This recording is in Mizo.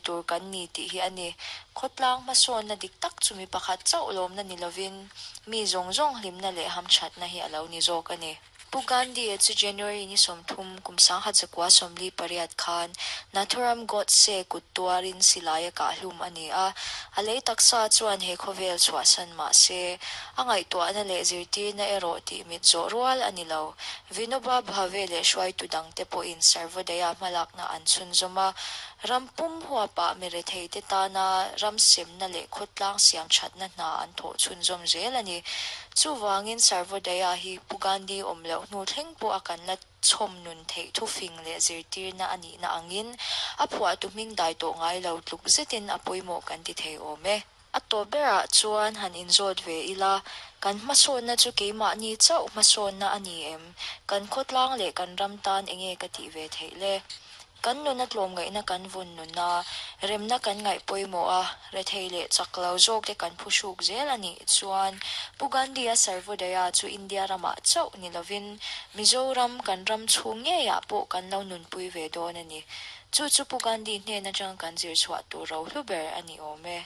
tur kan ni tih hi a ni. Khawtlang hmasawnna dik tak chu mi pakhat chauh lawmna ni lovin mi zawng zawng hlimna leh hamthatna hi a lo ni zawk a ni. Pu Gandhi-a chu January ni 30, kum 1948 khan Nathuram Godse kut tuarin silai a kah hlum a ni a, a lei taksa chuan he khawvel chhuahsan mah se, a ngaihtuahna leh zirtirna erawh tih mit zawh rual a ni lo. Vinoba Bhave leh hruaitu dangte pawhin Sarvodaya hmalakna an chhunzawm a, ram pum huapah mi retheite tana ram semna leh khawtlang siam thatna hna an thawh chhunzawm zel a ni. Chuvangin Sarvodaya hi Pu Gandhi awm loh hnu thleng pawh a kan la chhawm nun theih thufing leh zirtirna a nihna angin a phuahtu hming dai tawh ngai lo tluk zetin a pawimawh kan ti thei awm e. A tawp berah chuan han inzawt ve ila, kan hmasawnna chu keimahni chauh hmasawnna a ni em? Kan khawtlang leh kan ram tan enge ka tih ve theih le? Kan nuna tlawmngaihna kan vawn nun a, remna kan ngaih pawimawh a, rethei leh chak lo zawk te kan phuhruk zel a nih chuan Pu Gandhi-a Sarvodaya chu India ramah chauh ni lovin Mizoram kan ram chhung ngeiah pawh kan lo nunpui ve dawn a ni. Chu chu Pu Gandhi hnen atanga kan zir chhuah tur rohlu ber a ni awm e.